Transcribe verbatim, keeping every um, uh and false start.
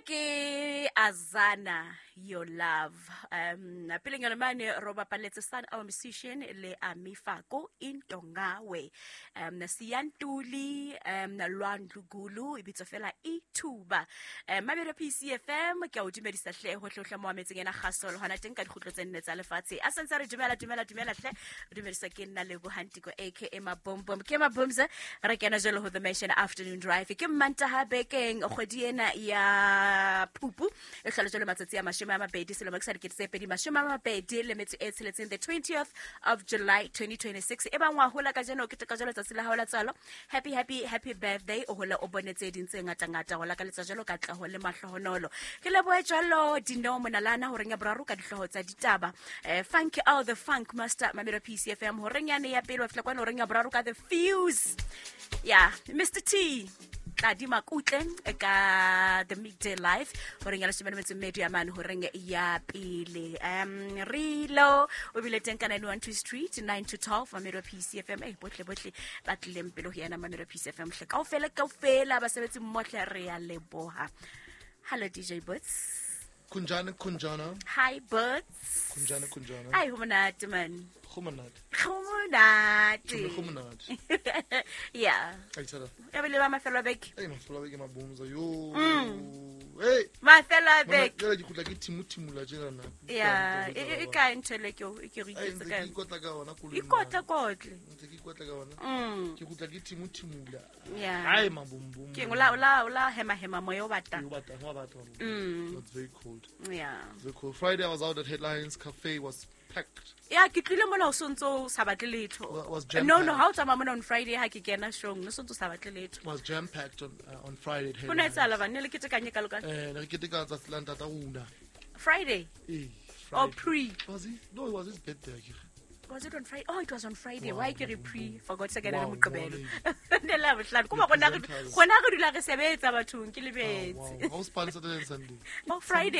Ke Azana, Your Love. um peleng yona mane ro bapaletse Sun Our Musician le Amifako, Intongawe, um Siyantuli, um Lwandlugulu, e bitswa fela Ithuba. um Mamelo P C F M, ke a o dumedisa hle hohle hohle mo ametseng ena kgaso le hona teng ka dikgutlo tse nne tsa lefatshe. A santse re dumela, dumela, dumela hle. Re dumedisa ke nna Lebohantiko, aka Mabombom. Ke Mabomza, re kena jalo ho The Mansion Afternoon Drive. Ke Mmantaha bekeng, kgwedi ena ya Phupu e hlola jalo matsatsi a mashome a mabedi, selemo ke sa dikete tse pedi mashome a mabedi le metso e tsheletseng, the twentieth of July twenty twenty-six. E bang wa hola kajeno, ke teka jalo tsatsi la hao la tswalo, happy, happy, happy birthday. O hole o bone tse ding tse ngata-ngata, go lakaletsa jalo katleho le mahlohonolo. Ke lebohe jalo Dineo Monalana horeng ya boraro ka dihlooho tsa ditaba, eh, Funk out the Funk Master, Mamelo P C F M, horeng yane ya pele wa fihla kwana horeng ya boraro ka The Fuse ya Mister T Tladi Makutle ka The Midday Life, horeng ya leshome le metso e mmedi ya mane horeng ya pele. um rilo o bile teng ka nine one two Street, nine to twelve, Mamelo P C F M. Eh, bohle bohle ba tlileng pele ho yena Mamelo P C F M hle, kaofela kaofela basebetsi mmohle, re ya leboha. Hello, D J Boots. Kunjana, Kunjana. Hi, Boots. Kunjana, Kunjana. Ai, ho monate man. Go monate. Ho monate. Go monate. Yeah. Ai tsala. Ya bile ba mafelo a beke. Ei, mafelo a beke, Mabomza. Yo. Hey. Mafelo a beke. Jale ke khutla ke thimu-thimula tjena na. Ya, e e- e kae ntho ele ke e ke re Ai, iketse ntse ka ke yona? Ikotla ka ona koloi. Ikotla kotle. Ntse ke ikotla ka ona. Mm. Ke khutla ke thimu-thimula. Yeah. Ai, mabombom. Ke o la o la o la hema hema moya o batang. Yo batang, wa batang. Mm. It's very cold. Yeah. It's very cold. Friday I was out at Headlines Cafe, was packed. Ya, ke tlile mona o sontso o sa batle letho. Wa- was jam No, no, packed. ha o tsamaya mona on Friday, ha ke kena showng, no sontso o sa batle letho. Was jam packed on uh, on Friday at Ho no Headlines. etsahala bane le ketekanye ka loka? Eh, ne re keteka tsatsi la ntata rona. Friday? Eh, Or Friday. pre? Was it? No, it was his birthday, akere. Was it on Friday? Oh, it was on Friday. Wow, Why ke re pre? Forgot se kana le Wow, Moqebelo. wow. Ne la bohlano. Kuma gona re Presenters. gona re dula re sebetsa bathong, ke Oh, lebetse. wow. How was Saturday and Sunday? Oh, Friday.